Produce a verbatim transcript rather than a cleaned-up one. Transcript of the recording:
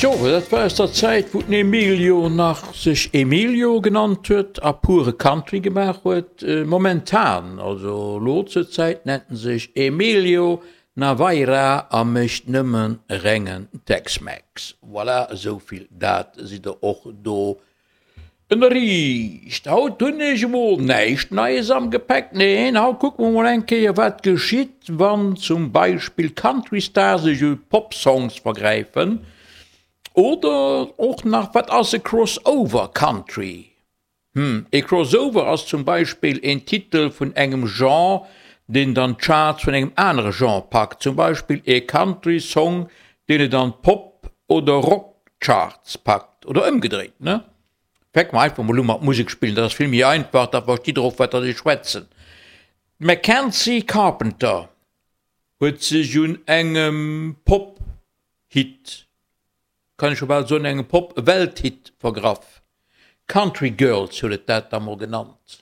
Jo, dat war aus der Zäit, wou den Emilio nach sech Emilio genannt huet a pure Country gemaach huet. Momentan, also lo zur Zäit, nennt en sech Emilio Navaira a mécht nëmme rengen Tex-Mex. Voilà, esou vill dat sidd der och do ënnerriicht. Haut hunn ech emol näischt Neies am Gepäck, neen, haut kucke mer mol eng Kéier, wat geschitt, wann zum Beispill Country-Stars sech u Pop-Songs vergräifen. Oder och nach, wat ass e Crossover Country? Hm, e Crossover ass zum Beispill een Titel vun engem Genre, deen dann d'Charts vun engem anere Genre packt. Zum Beispill ee Country Song, deen et an d'Pop oder Rock Charts packt. Oder ëmgedréit, ne? Fänke mer einfach mol u mat Musek spillen, dat ass vill méi einfach, da verstitt der och, wat dass ech schwätzen. D'Mackenzie Carpenter huet sech un engem Pop-Hit, kann ech scho bal soen, engem Pop-Welt-Hit vergraff. Country Girls huet et dat da mol genannt.